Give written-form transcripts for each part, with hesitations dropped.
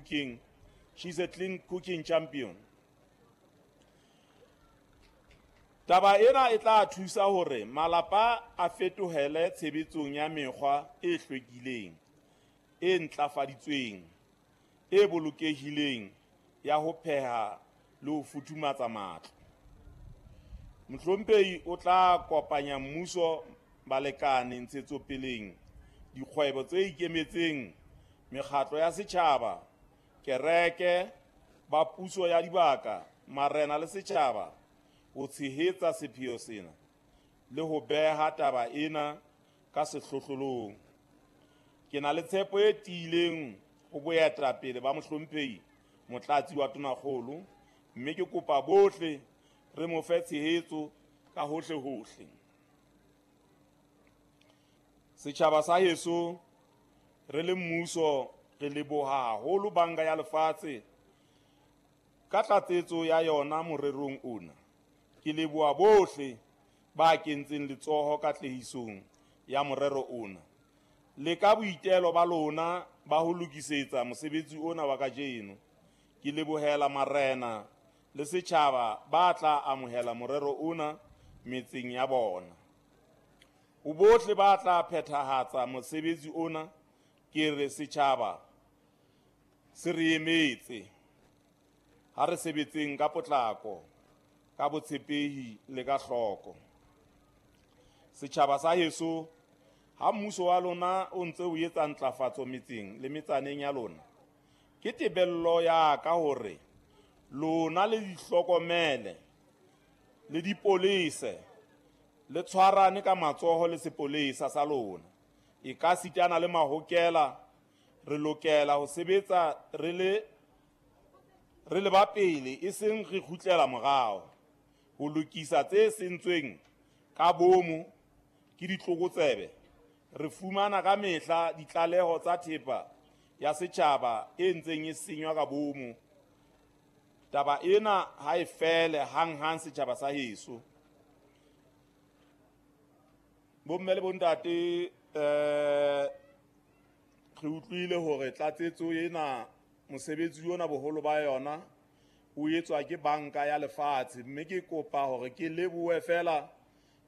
cooking. She's a clean cooking champion. Taba ena e tla thusa hore malapa a fetohele tshebetsong ya mekgwa e hlwekileng, e ntlafaditsweng, e bolokehileng ya ho pheha le ho futhumatsa matlo. Mohlomphehi o tla kopanya mmuso, balekane ntshetsopeleng, dikgwebo tse ikemetseng, mekgatlo ya setjhaba, kereke, ba puso ya dibaka, marena le setjhaba ho tshehetsa sepheo sena le ho beha taba ena ka sehlohlolong. Ke na le tshepo e tiileng ho boetapele ba mohlomphehi Motlatsi wa Tonakgolo, mme ke kopa bohle re mo fe tshehetso ka hohle-hohle. Setjhaba sa heso, re le mmuso re leboha haholo Banka ya Lefatshe ka tlatsetso ya yona morerong ona. Ke leboha bohle ba kentseng letsoho katlehisong ya morero ona le ka boitelo ba lona ba ho lokisetsa mosebetsi ona wa kajeno. Ke lebohela marena le setjhaba ba tla amohela morero ona metseng ya bona. Ho bohle ba tla phethahatsa mosebetsi ona, ke re setjhaba se re emetse. Ha re sebetseng ka potlako, ka botshepehi le ka hloko. Setjhaba sa heso, ha mmuso wa lona o ntse o etsa ntlafatso metseng le metsaneng ya lona, ke tebello ya ka hore lona le di hlokomele, le dipolese, le tshwarane ka matsoho le sepolesa sa lona. E ka sitana le mahokela, re lokela ho sebetsa re le ba pele, e seng re kgutlela morao. Ho lokisa tse sentsweng ka bomo ke ditlokotsebe. Re fumana ka mehla ditlaleho tsa thepa ya setjhaba e ntseng e senywa ka bomo. Taba ena ha e fele hanghang setjhaba sa heso. Bomme le bontate, re utlwile hore tlatsetso ena, mosebetsi ona boholo ba yona o etswa ke Banka ya Lefatshe, mme ke kopa hore ke lebohe fela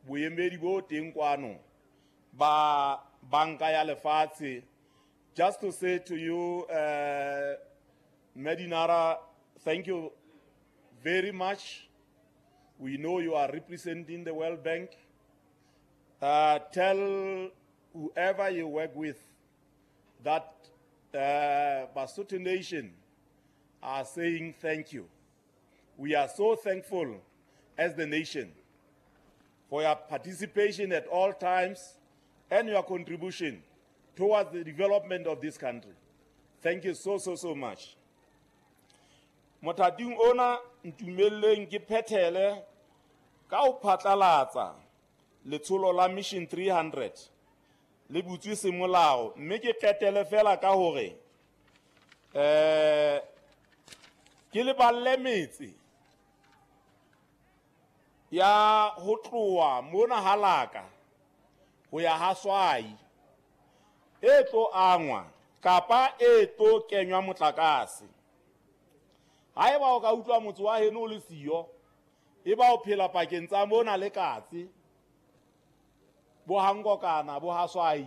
boemedi bo teng kwano ba Banka ya Lefatshe. Just to say to you, Medinara, thank you very much. We know you are representing the World Bank. Tell whoever you work with that Basotho Nation are saying thank you. We are so thankful as the nation for your participation at all times and your contribution towards the development of this country. Thank you so, so, so much. Mothating ona ntumelleng ke phethele ka ho phatlalatsa letsholo la Mission 300 le butswe semolao, mme ke qetele fela ka hore ke leballe metse ya ho tloha mona Halaka ho ya ha Swai e tlo angwa kapa e tlo kenywa motlakase. Haeba o ka utlwa motse wa heno o le siyo, e ba o phela pakeng tsa mona le Katse, bo Hankokana, bo ha Swai,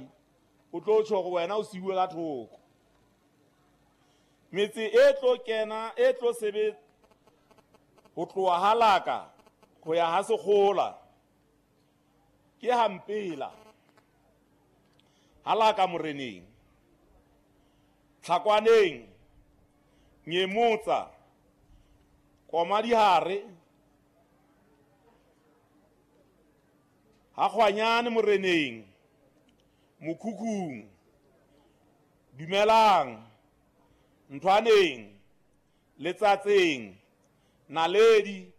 o tlo tjho hore wena o siuwe ka thoko. Metse e tlo kena, e tlo sebetsa ho tloha Halaka ho ya ha Sekgola ke Hampela, Halaka Moreneng, Tlhakwaneng, Nyemotsa, Komadihare, Hakgwanyane Moreneng, Mokhukhung, Dumelang, Nthwaneng, Letsatseng, Naledi,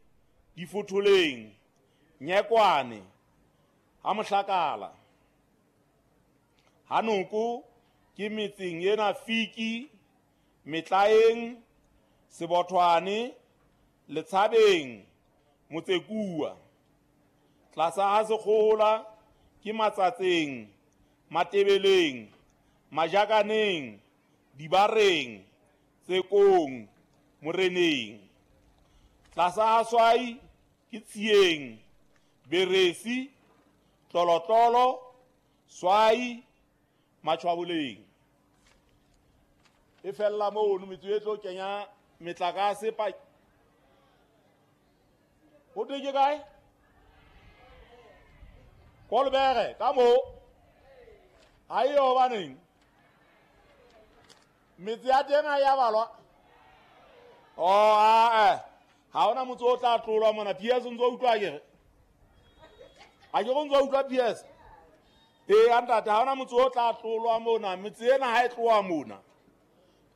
Difotholeng, Nyekwane, ha Mohlakala. Hanoko ke metseng ena Fiki, Metlaeng, Sebothwane, Letshabeng, Motsekua. Tlasa ha Sekgola ke Matsatseng, Matebeleng, Majakaneng, Dibareng, Tsekong, Moreneng. Tlasa ha Swai ke Tsieng, Beresi, Tlolotlolo, Swai, Matshwaboleng. E fella mono metso e tlo kenya metlakase pa. Ho thwe ke kae? Kolobere ka mo. Ha eyo hobaneng? Metse ya teng ha ya balwa. Oh, a ha hona motse o tla tlolwa mona. PS o ntso utlwa ke re. Ha ke go ntso utlwa PS. Ee, ntate, ha hona motse o tla tlolwa mona. Metse ena ha e tloha mona,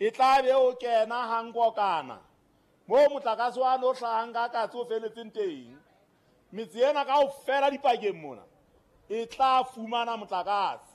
e tla be o kena hankokana moo motlakase wa no hlahang ka katse o feletseng teng. Metse ena kaofela dipakeng mona e tla fumana motlakase.